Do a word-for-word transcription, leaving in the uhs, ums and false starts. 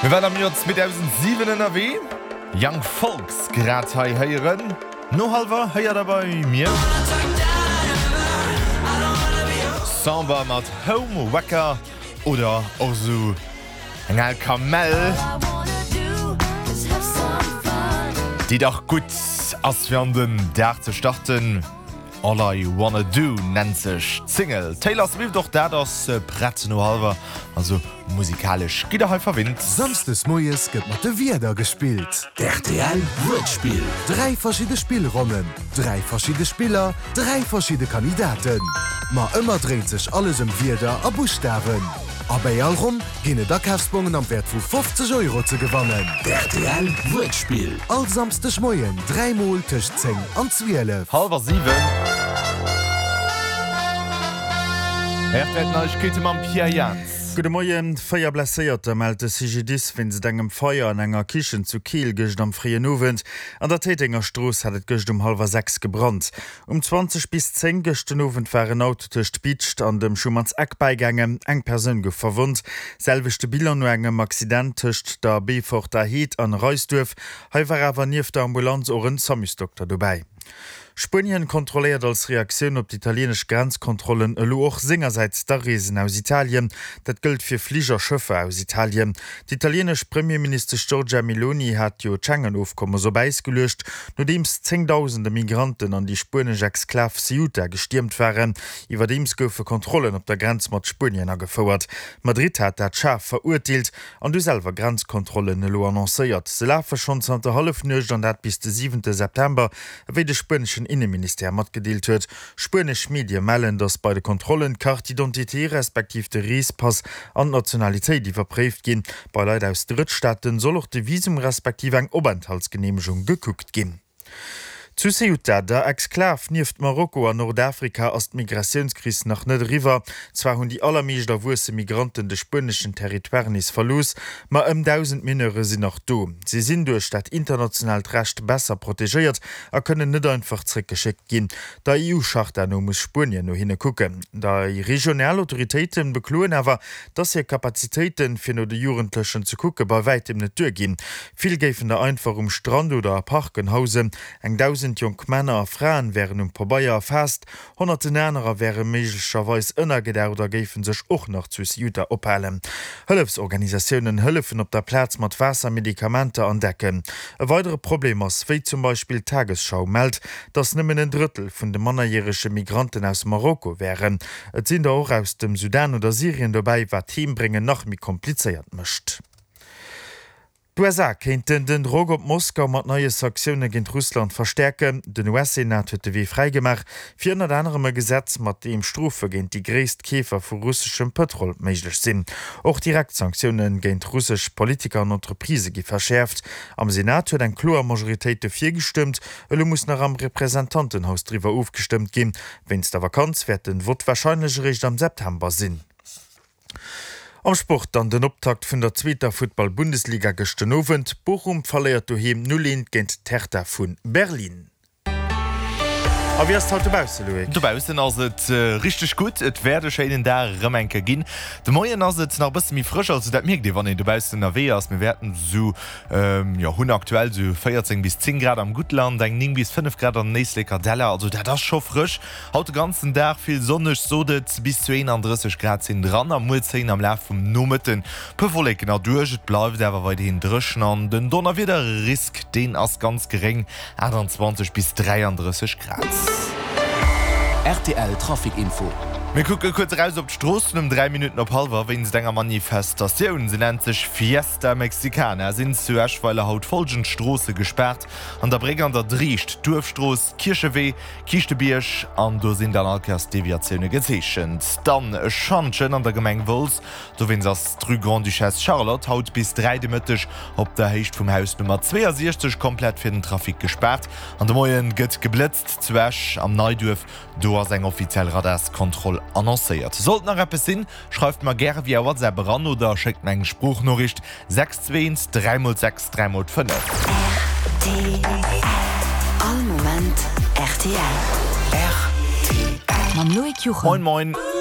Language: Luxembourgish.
Mir waren am Joer zweedausendsiwen ënnerwee. Young Folks grad hei héieren. No hallwer héiert der bei mir. Samba mat Home Wrecker oder och esou eng al Kamell, déi dach gutt ass fir an den Dag ze starten. All I Wanna Do nennt sech d'Single. Taylor Swift, och dat ass prett no hallwer, also musikalesch gitt der hei verwinnt. Samsdes moies gëtt mat de Wierder gespillt. Rtl Wuertspill. Dräi verschidde Spillronnen, dräi verschidde Spiller, dräi verschidde Kandidaten. Ma ëmmer dréint sech alles ëm Wierder a Buschtawen. A bäi all Ronn ginn et Akafsbongen am Wäert vu fofzeg Euro ze gewannen. Rtl Wuertspill. All Samsdeg Moien dräi mol tëscht zéng an zwielef. Hallwer siwen. Rtl Neiegkeete mam Pierre Jans. Gudde Moien. Véier Blesséierter mellt de C G D I S wéinst engem Feier an enger Kichen zu Keel gëscht am fréien Owend. An der Téitenger Strooss hat et gëscht um hallwer sechs gebrannt. Um zwanzeg bis zéng gëscht den Owend war en Auto tëscht Bidscht an dem Schumann's Eck bäigaangen. Eng Persoun gouf verwonnt. Selwechte Bilan no engem Accident tëscht der Beeforter Heed an Reisduerf. Hei war awer nieft der Ambulanz och en Samusdokter dobäi. Spuenien kontrolléiert als Reaktioun op d'italienesch Grenzkontrollen elo och sengersäits d'Areesen aus Italien. Dat gëllt fir Flich a Schëffer aus Italien. D'italienesch Premierministesch Giorgia Meloni hat jo d'Schengen-Ofkommes op Äis geluecht, nodeems zéngdausende Migranten an déi spuenesch Exklav Ceuta gestiermt waren. Iwwerdeems goufe Kontrollen op der Grenz mat Spuenien agefouert. Madrid hat dat schaarf verurteelt an du selwer Grenzkontrollen elo annoncéiert. Se lafe schonn zanter Hallefnuecht an dat bis de siwente September, ewéi de spueneschen Inneministère matgedeelt huet. Spuenesch Medie mellen, datt bei de Kontrollen d'Carte d'identité respektiv de Reespass an d'Nationalitéit iwwerpréift ginn. Bei Leit aus Drëttstaaten soll och de Visum respektiv eng Openthaltsgeneemegung gekuckt ginn. Zu Ceuta, der Exklav nieft Marokko an Nordafrika, ass d'Migratiounskris nach net eriwwer. Zwar hunn déi allermeescht erwuesse Migranten de spueneschen Territoire nees verlooss, ma ëm dausend Mineure sinn nach do. Si sinn duerch dat internationaalt Recht besser protegéiert a kënnen net einfach zréckgeschéckt ginn. Der E U-Charta no muss Spuenien no hinne kucken. Déi regional Autoritéite bekloen awer, dass hir Kapazitéiten, fir no de Jugendlechen ze kucke, bei wäitem net duerginn. Vill géifen der einfach um Strand oder a Parken hausen. Eng dausend jonk Männer a Fraen wären um Pabeier erfaasst, honnerten anerer wäre méiglecherweis ënnergedaucht a géife sech och nach zu Ceuta ophalen. Hëllefsorganisatiounen hëllefen op der Plaz mat Waasser, Medikamenter an Decken. E weidere Problem ass, wéi zum Beispill d'Tagesschau mellt, dass nëmmen en Drëttel vun de mannerjärege Migranten aus Marokko wären. Et sinn der och aus dem Sudan oder Syrien dobäi, wat d'Heembréngen nach méi komplizéiert mécht. D'U S A kéinten den Drock op Moskau mat neie Sanktioune géint Russland verstäerken. Den U S-Senat huet de Wee fräigemaach fir ënnert anerem e Gesetz, mat deem Strofe géint déi gréisst Keefer vu russeschem Pëtrol méiglech sinn. Och direkt Sanktioune géint russesch Politiker an Entreprisë gi verschäerft. Am Senat huet eng kloer Majoritéit dofir gestëmmt, elo muss nach am Representantenhaus driwwer ofgestëmmt ginn. Wéinst der Vakanz wäert de Vott warscheinlech eréischt am September sinn. Am Sport dann den Optakt vun der zweeter Futtball-Bundesliga gëscht den Owend. Bochum verléiert doheem null eent géint d'Hertha vu Berlin. A wéi ass et haut dobausse, Loïc? Dobaussen ass et richteg gutt. Et wäert e schéinen Dag erëm eng Kéier ginn. De Moien ass et nach e bësse méi frësch, also dat mierkt ee wann een dobaussen ënnerwee ass. Mir wäerten esou, jo hunn aktuell esou véierzéng bis zéng Grad am Guttland, eng néng bis fënnef Grad an den Éisleker Däller, also dat ass scho frësch. Haut de ganzen Dag vill sonneg, sot et, bis zu eenandrësseg Grad sinn dran a muer zéien am Laf vum Nomëtten puer Wolleken erduerch. Et bleift awer weiderhin dréchen an den Donnerwiederrisk, deen ass ganz geréng, aachtanzwanzeg bis dräiandrësseg Grad. R T L Trafic Info. Mir kucke kuerz eraus op d'Stroossen um dräi Minutten op hallwer. Wéinst enger Manifestatioun, se nennt sech Fiesta Mexicana, sinn zu Eschweiler haut follgend Stroosse gespaart, An der Bréck an der Driicht, Duerfstrooss, Kierchewee, Kiischtebierg an do sinn dann all Kéiers Deviatioune gezeechent. Dann e Schantjen an der Gemeng Wolz, dowéinst ass d'Rue Grande-Duchesse Charlotte haut bis dräi de Mëtteg op der Héicht vum Haus Nummer zweeasiechzeg komplett fir den Trafic gespaart. An de Moien gëtt geblëtzt zu Esch am Neiduerf. Do ass eng offiziell Radarskontroll annoncéiert. Sollt nach eppes sinn, schreift mer gäre via WhatsApp eran oder schéckt mer eng Sproochnoriicht, sechs zwee eent dräi mol sechs dräi mol fënnef. R T L. All Moment R T L. R T L. Mam Loïc Juchem. Moin moin.